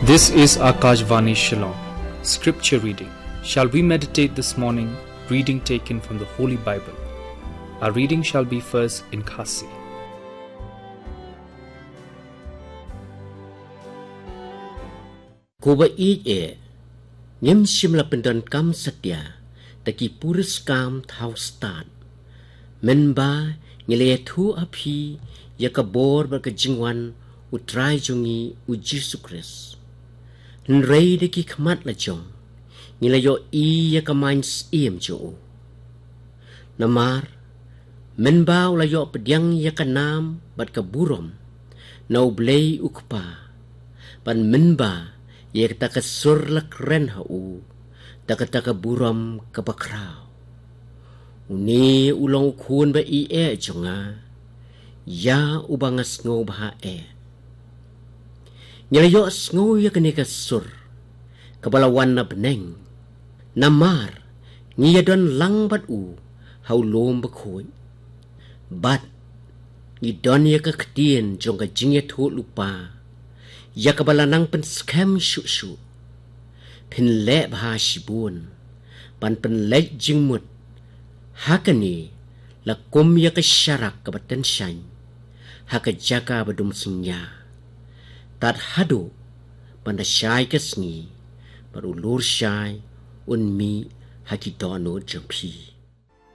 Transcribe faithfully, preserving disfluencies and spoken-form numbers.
This is Akashvani Shillong. Scripture reading. Shall we meditate this morning? Reading taken from the Holy Bible. Our reading shall be first in Khasi. Ko ba ïeit eh, ngim shym la pyndonkam satia da ki puriskam thaw stad. Mynba ngi la ïathuh ha phi ïa ka bor bad ka jingwan U Trai jong ngi U Jisu Khrist. Hynrei da ki khmat la jong ngi la ïohi ïa ka main syiem jong u. Namar mynba u la ïoh pdiang ïa ka nam bad ka burom na U Blei U Kpa, bad mynba ïa kata ka sur la kren ha u da kata ka burom kaba khraw. Une u long U Khun ba ïeit eh jong nga, ïa uba nga sngewbha eh. Ngi la ïoh sngew ïa kane ka sur kaba la wan na bneng, namar ngi ïadon lang bad u ha u lum bakhuid. Bad ngi don ïa ka ktien jong ka jingïathuhlypa, ïa kaba la nang pynskhem shuh shuh. Phin leh bha shibun ban pynleit jingmut ha kane, la kum ïa ka sharak kaba tyngshaiñ ha ka jaka ba dum synñia, tad haduh ban da shai ka sngi, bad u lur shai un mih ha ki dohnud jong phi.